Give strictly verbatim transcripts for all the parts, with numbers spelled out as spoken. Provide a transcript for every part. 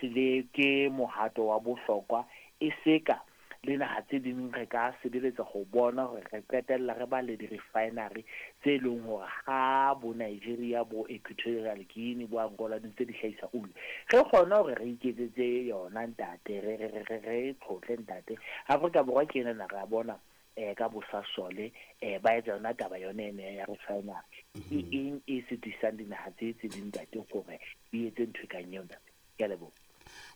Le ke mohato wa bohlokwa e seka le naha tse ding re ka sebeletsa go bona hore re qetella re ba le di-refinery tse leng hore ha bo Nigeria, bo Equatorial Guinea, bo Angola di ntse di hlahisa oli, re kgone hore re iketsetse yona ntate, re re re re tlhotle ntate. Afrika Borwa ke ena re a bona eh ka bosasole eh ba etsa yona taba yone ene ya refinery. Ke eng e sitisang dinaha tse tse ding ntate hore di etse ntho e kang eo ntate? Ke a leboha.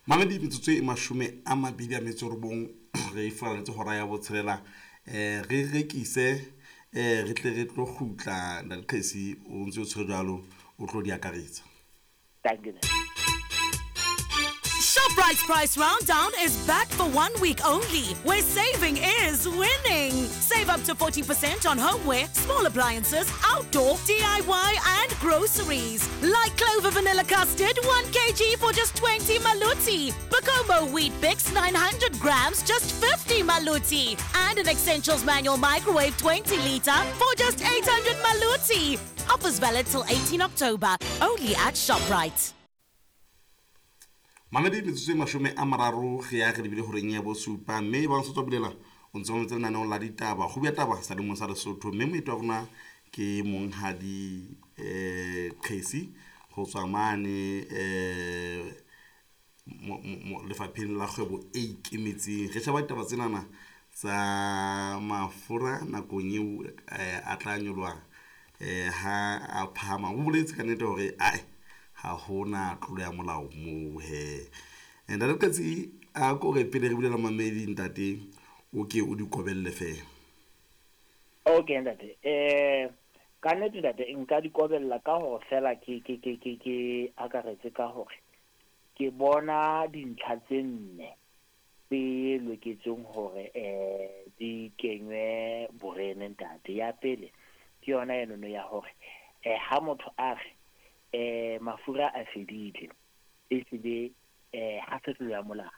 Mamedi, metsotso e mashome a mabedi a metso robong re furaletse hora ya botshelela. um re rekise um re tle re tlo kgutla. Ntate Qhesi, o ntse o tshwere jwalo, o tlo di akaretsa. Thank you. ShopRite's Price Rounddown is back for one week only, where saving is winning. Save up to forty percent on homeware, small appliances, outdoor, D I Y, and groceries. Like Clover Vanilla Custard, one kilogram for just twenty maluti. Bokomo Wheat Bix, nine hundred grams, just fifty maluti. And an Essentials Manual Microwave twenty liter for just eight hundred maluti. Offers valid till eighteen October, only at ShopRite. Mamedi, metsotso e mashome a mararo re ya re lebile horeng ya bosupa, mme ba ntse tswa bulela o ntse o ntse lenaneong la ditaba go bua taba sa lemong sa Lesotho, mme moeti wa rona ke monghadi um Qhesi go tswa mane um lefapheng la kgwebo e ikemetseng. Re sheba ditaba tsenana tsa mafura nakong eo a tla nyoloha um ha a phahama. O boletse ka nnete hore ae, ha hona tlolo ya molao moo he. Ntate Qetsi, a ko re pele re bulela mamedi ntate, o ke o di kobelle fela. Okay ntate, eh ka nnete ntate, nka di kobella ka hore fela ke ke ke ke ke akaretse ka hore ke bona dintlha tse nne tse loketseng hore eh di kenywe borene ntate. Ya pele ke yona enono ya hore eh ha motho a re eh mafura a fedile, ehlile eh ha se tlolo ya molao.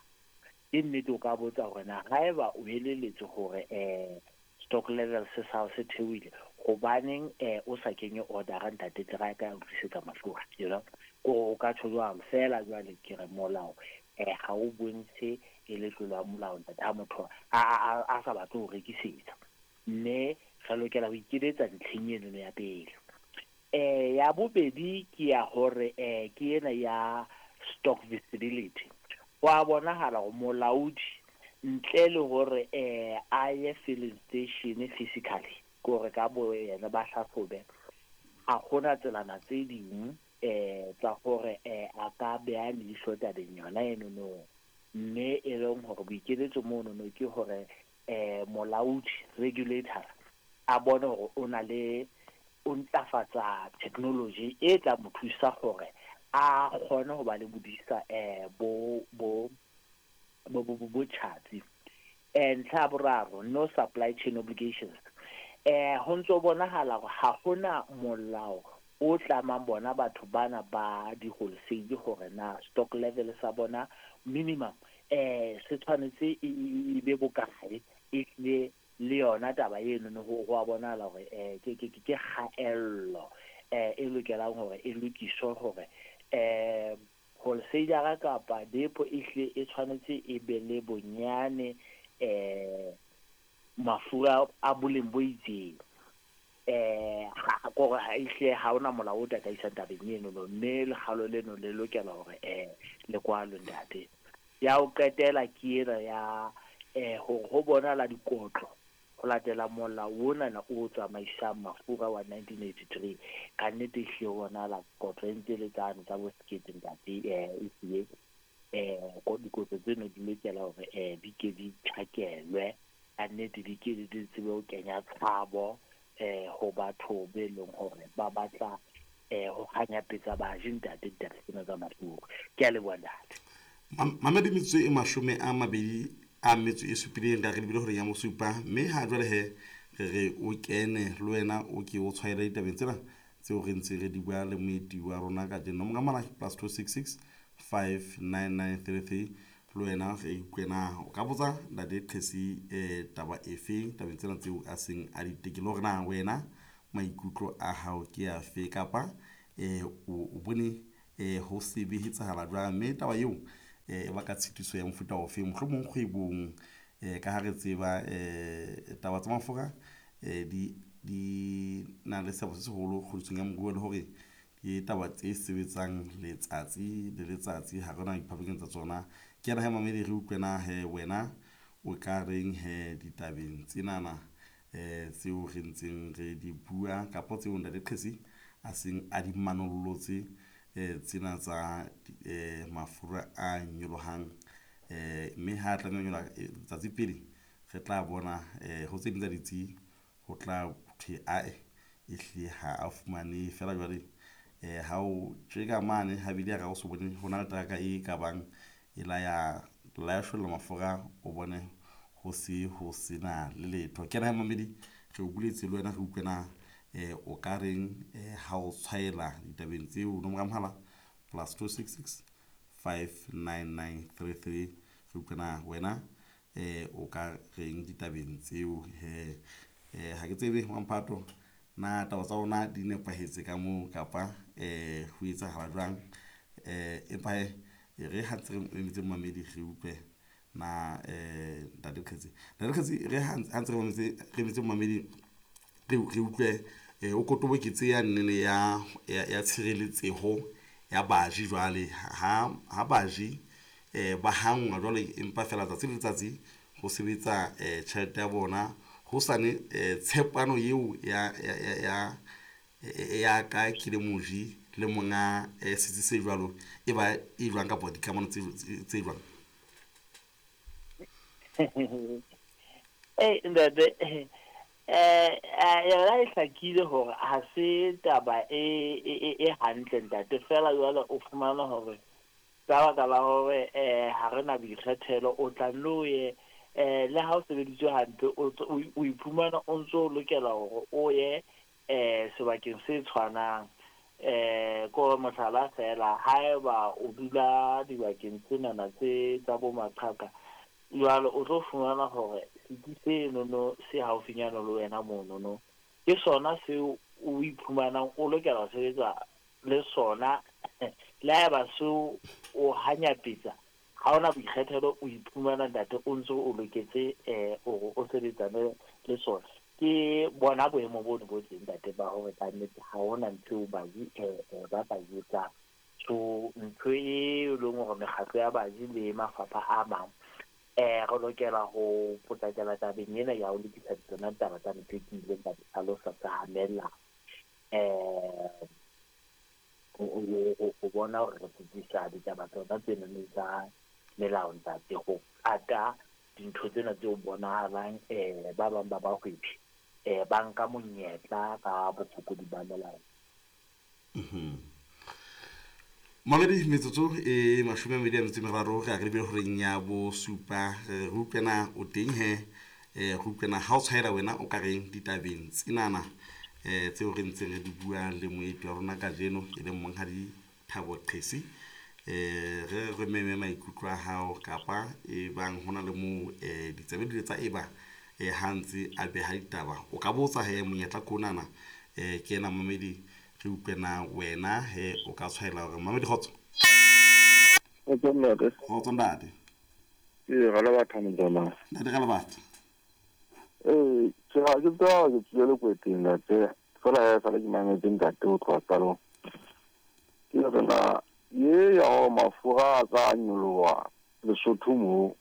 Ke nnete, o ka botsa hore na haeba o elelletswe hore eh stock level se sa se theohile, hobaneng eh o sa kenye order ntate, tle ka o tlisetsa mafura you know Ko o ka tjho jwalo fela. Jwale ke re molao eh ha o bontshe e le tlolo ya molao ntate ha motho a a a sa batle ho rekisetsa, mme re lokela ho ikeletsa ntlheng eno ya pele. eh ya bobedi ke ya hore eh ke ena ya stock visibility. Wa bonahala hore molaodi ntle le hore eh a ye filling station physically, kore ka bo yena ba hlahlobe, ha hona tselana tse ding eh tsa hore eh a ka beha leihlo tabeng yona eno no. Mme e leng hore boikeletso mono no ke hore eh molaodi, regulator, a bone hore o na le o ntlafatsa technology e tla mo thusa hore a kgone ho ba le bodisa eh bo bo bo bo bo tjhatsi. eh ntlha ya boraro, no supply chain obligations. eh ho ntso bonahala hore ha hona molao o tlamang bona batho bana ba di-wholesale hore na stock level sa bona minimum eh se tshwanetse e be bokae. Ehlile le yona taba eno no ho a bonahala hore eh ke ke ke kgaello eh e lokelang hore e lokiswe, hore eh wholesaler kapa depo ehlile e tshwanetse e be le bonyane eh mafura a boleng bo itseng. eh ga kore ha ehlile ha ona molao o tataisang tabeng eno no, mme lekgalo leno le lokela hore eh le kwalwe ntate. Ya ho qetela ke ena ya eh hore ho bonahala dikotlo ho latela molao onana o tsamaisang mafura wa nineteen eighty-three. Ka nnete ehlile ho bonahala kotlo e ntse le tsane tsa bo sekete ntate. eh ehlile eh dikotlo tseno di lokela hore eh di ke di tjhakelwe ka nnete, di ke di tsebe ho kenya tshabo eh ho batho be leng hore ba batla eh ho kganyapetsa baji ntate ditaba tsena tsa mafura. Ke a leboha ntate. Mamedi, metsotso e mashome a mabedi a metso e supileng re lebile horeng ya mosupa, mme ha jwale he re re o kene le wena o ke o tshwaele ditabeng tsena tseo re ntse re di bua le moeti wa rona kajeno. Nomoro ya mohala plus two six six five nine nine three three. Le wena re utlwe, o ka botsa ntate Qhesi um taba efeng tabeng tsena tseo a seng a di tekile, hore na wena maikutlo a hao ke afe, kapa um o bone um ho se be etsahala jwang, mme taba eo eh e baka tshitiso ya mofuta ofe mohlomong kgwebong eh ka ha re tseba eh taba tsa mafura eh di di na le seabo se seholo kgodisong ya moruo le hore ke taba tse sebetsang letsatsi le letsatsi ha rena diphapanyong tsa tsona. Ke yena he mamedi re utlwe na he wena o ka reng he ditabeng tsenana eh tseo re ntseng re di bua kapa tseo ntate Qhesi a seng a di manollotse eh tsena tsa eh mafura a nyolohang eh mme ha tla nyola tsatsi pele re tla bona eh ho tse ding tsa ditsi ho tla thwe ae e hle ha a fumane fela jwale eh ha o tjeka mane ha bile ra o so bone hona le traka e ka bang e la ya la ya sholla mafura o bone ho se ho sena le letho. Ke na mamedi re o buletse le wena re utlwe na eh o ka reng eh ha o tshwaela ditabeng tseo nomoro ya mohala plus two six six five nine nine three three re utlwe na wena eh o ka reng ditabeng tseo he eh ha ke tsebe mamphato na taba tsa rona di nepahetse ka moo kapa eh ho etsahala jwang eh empa he re ha ntse re emetse mamedi re utlwe na eh ntate Qhesi ntate Qhesi re ha ntse re emetse re emetse mamedi re re utlwe eh o kotoboketse ya nnene ya ya tshireletseho ya baji jwale ha ha baji eh ba hangwa jwale empa fela tsatsi le letsatsi ho sebetsa eh tjhelete ya bona ho sane eh tshepano eo ya ya ya ya ka ke le moji le monga eh setsi se jwalo e ba e jwang kapa dikamano tse tse jwang. Eh ntate eh yona e hlakile hore ha se taba e e hantle ntate fela jwale o fumana hore ka baka la hore eh ha re na boikgethelo o tla nno ye eh le ha o sebeditswe hampe o o iphumana o ntso lokela hore o ye eh sebakeng se tshwanang eh ko mohlala fela haeba o dula dibakeng tsenana tse tsa bo maqhaka jwale o tlo fumana hore setsi senono se haufinyana le wena monono ke sona seo o iphumanang o lokela ho sebetsa le sona le haeba seo o hanyapetsa ha ona boikgethelo o iphumana ntate o ntso o loketse eh hore o sebetsane le sona. Ke bona boemo bono bo teng ntate ba hore ka nnete ha hona ntho eo baji eh ba ka e etsang. So ntho e leng hore mekgatlo ya baji le mafapha a mang eh re lokela ho potlakela tabeng ena ya ho lokisa tsona taba tsa ntho ke ileng ka di hlalosa tsa melao eh ho bona hore re tsitsisa ditaba tsona tsena tsa melao ntate ho ata dintho tsena tseo bonahalang eh ba bang ba bahwebi eh ba nka monyetla ka bofokodi ba melao. Mhm. Mamedi metsotso e mashome a mabedi a metso e meraro re a re lebile horeng ya bosupa re utlwena o teng he eh re utlwena ha o tshwaela wena o ka reng ditabeng tsenana eh tseo re ntseng re di bua le moeti wa rona kajeno e leng monghadi Thabo Qhesi eh re re meme maikutlo a hao kapa e bang hona le moo eh ditsebe di tsa eba eh ha ntse a beha ditaba o ka botsa he monyetla konana eh ke ena mamedi re utlwena wena he o ka tshwaela hore mamedi kgotso. Kgotso ntate. Kgotso ntate. Ee, ra le batho motsamai. Ntate ra le batho. Ee, ke ga ke tswa ke tswile Lekweteng ntate. Fela he sale ke mametse ntate ho tloha qalong. Ke re na ye ya hore mafura a tsa nyoloha Lesotho moo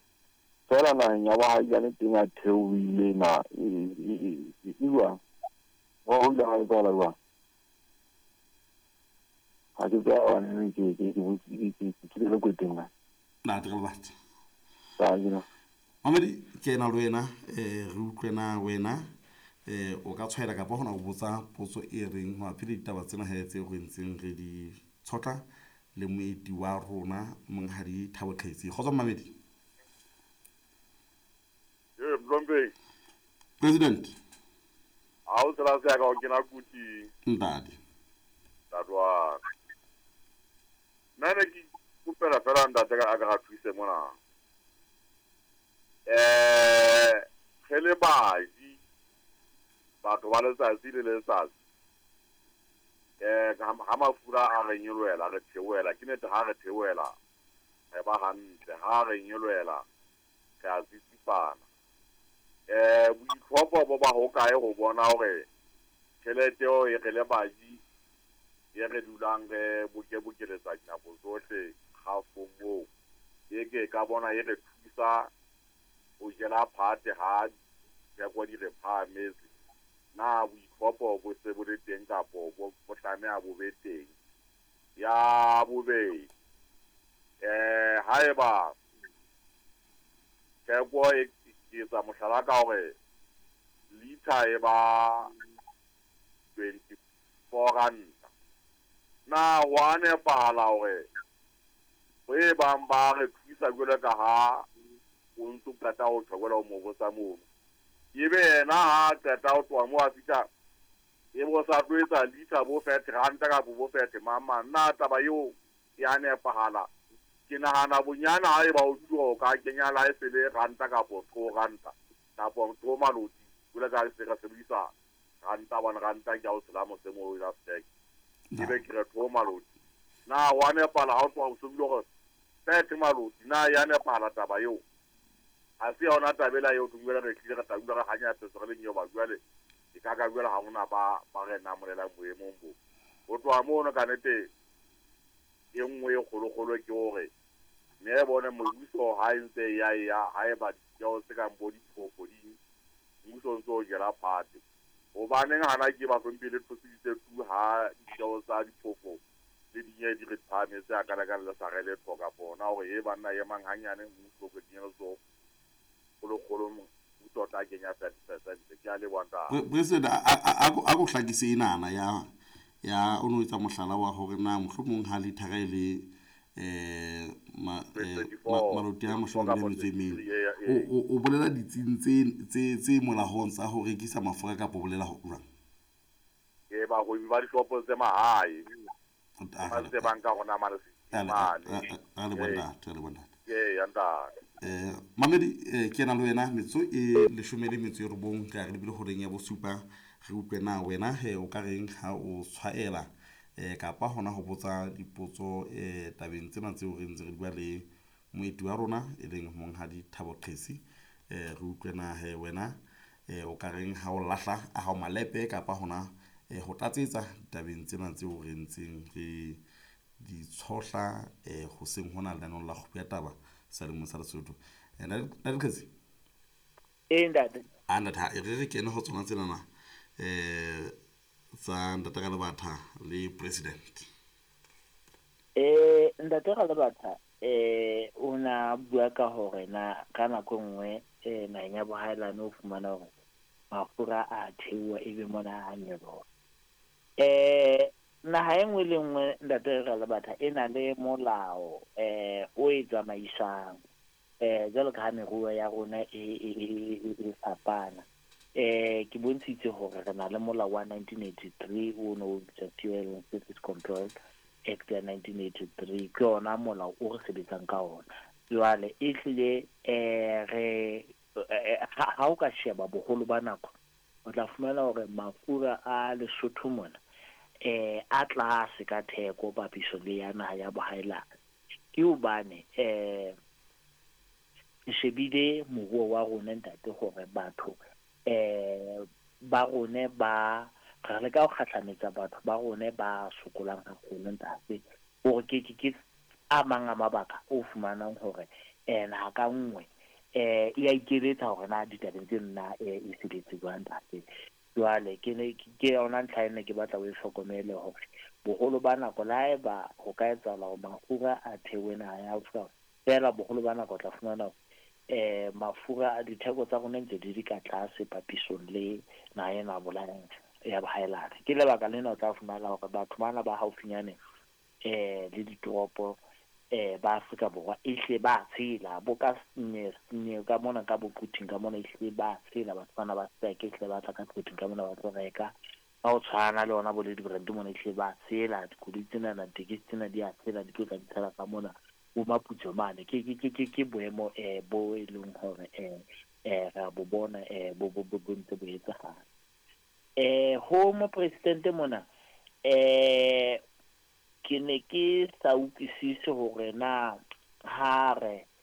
fela naheng ya bohailane teng a theohile na e jwang? Ho ile ha etsahala jwang? Ha ke tswa hobane ke ke ke ke ke Lekweteng na. Ntate ra le batho. Tsa Mamedi ke ena le wena eh re utlwe na wena eh o ka tshwaela kapa hona ho botsa potso e reng mabapi le ditaba tsena he tseo re ntseng re di tshotla le moeti wa rona monghadi Thabo Qhesi. Kgotso mamedi. Ee, Mlombe. President. Ha o tsela se ka o kena kuti. Ntate. Ntate wa. Nna ne ke kopela fela ntate ka a ka thuse mona. Eh, re le baji batho ba letsatsi le letsatsi eh ha mafura a re nyolohela re theohela ke nete ha re theohela Re ba hantle ha re nyolohela re a tsitsipana. Eh boitlhopho bo ba hokae ho bona hore tjhelete eo e re le baji e re dulang re bokebokeletsa dinako tsohle kgafong moo e ke ka bona e re thusa ho jela phate ha ditheko di re phahametse. Na boitlhopho bo se bo le teng kapo bo tlameha bo be teng? Ya bobedi, eh haeba theko e ke etsa mohlala ka hore liter e ba twenty-four ranta, na wa nepahala hore ho e bang ba re thusa jwalo ka ha o ntso qeta ho tjho jwalo mo botsa mono, ebe yena ha qeta ho tloha moo a fihla e bo sa tlo etsa liter bo thirty ranta kapo bo thirty mang mang, na taba eo ya nepahala? Ke nahana bonyane ha eba o dula o ka kenya la e sele ranta kapo two ranta kapo two maloti jwalo ka se re sebedisa ranta one ranta ke a o tshela mose moo la stack ebe ke re two maloti. Na wa nepahala ha o tloha o so bile hore thirty maloti, na ya nepahala taba eo? Ha se yona taba ela eo tumela re tlile re tla dula re hanyapetsa re le nyoba jwale e ka ka jwale ha hona ba ba re namolelang boemong bo. Ho tloha mono ka nnete e nngwe e kgolokgolo ke hore mme bone mmuso ha e ntse ya ya ha eba ditjeo tse kang bo diphofo di mmuso o ntso o jela phate. Hobaneng hana ke ba hlomphe le thosiditse tu ha ditjeo tsa diphofo le dinye di re phahametse a kana ka le sa re letho kapo hona hore e banna emang hanyane mmuso o kenye letsoho kgolokgolo mmuso o tla kenya thirty percent. Ke a leboha ntate. President, a ko hlakise enana ya ya o no etsa mohlala wa hore na mohlomong ha lithara e le eh maloti a mashome a mabedi le metso e mene, o bolela ditsing tse tse tse molahong tsa ho rekisa mafura kapa o bolela ho jwang? Ke bahwebi ba dishopo tse mahae ba ntse ba nka hona mane mane. A le bona, a le bona. Ee, ntate. Eh mamedi ke na le wena metso e leshome le metso e robong ka re lebile horeng ya bosupa re utlwe na wena he o ka reng ha o tshwaela eh kapa hona ho botsa dipotso eh tabeng tsena tseo re ntse re bua le moeti wa rona e leng monghadi Thabo Qesi. Eh re utlwe na he wena eh o ka reng ha o lahla a hao malepe kapa hona ho tlatsetsa tabeng tsena tseo re ntseng re di tshohla eh hoseng hona lenaneo la kgopo ya taba sa lemo sa Lesotho. Eh Ntate Qesi? Ee ntate. A ntate, re re kene ho tsona tsena na eh tsa Ntate Ralebatha le president. Eh Ntate Ralebatha eh o na bua ka hore na ka nako nngwe eh naheng ya bohaelane o fumana hore mafura a theoha ebe mona a nyoloha. Eh naha e nngwe le nngwe Ntate Ralebatha e na le molao eh o e tsamaisang eh jwalo ka ha meruo ya rona e e e fapana. Eh ke bontshitse hore re na le molao wa nineteen eighty-three o no bitswa Fuel and Service Control Act ya nineteen eighty-three, ke yona molao o re sebetsang ka ona. Jwale e hlile eh re ha o ka sheba boholo ba nako o tla fumana hore mafura a Lesotho mona eh a tlase ka theko papiso le ya naha ya bohaelane. Ke hobane eh shebile moruo wa rona ntate hore batho eh ba rone ba re leka ho kgahlametsa batho ba rone ba sokolang haholo ntate, hore ke ke ke a mang a mabaka o fumanang hore eh naha ka nngwe eh e a ikeletsa hore na ditabeng tse nna e sebetse jwang ntate. Jwale ke ne ke yona ntlha ena ke batla o e hlokomele hore boholo ba nako la haeba ho ka etsahala hore mafura a theohe naha ya Afrika fela, boholo ba nako o tla fumana eh mafura a ditheko tsa rona ntse di di ka tlase papisong le naha ena bolayang ya bohaelane. Ke lebaka lena o tla fumana hore batho bana ba haufinyane eh le ditoropo eh ba Afrika Borwa e hle ba tshela bo ka ne ne ka mona ka boquthing ka mona e hle ba tshela batho bana ba seke e hle ba tla ka quthing ka mona ba tlo reka ka ho tshwana le ona bo le di-brand mona e hle ba tshela dikoloi tsena na ditekesi tsena di a tshela di tlo tla di tshela ka mona bo Maputso mane. Ke ke ke ke boemo eh bo e leng hore eh eh ra bo bona eh bo bo bo ntse bo etsahala. Eh ho mopresidente mona eh ke ne ke sa utlwisise hore na Ha re.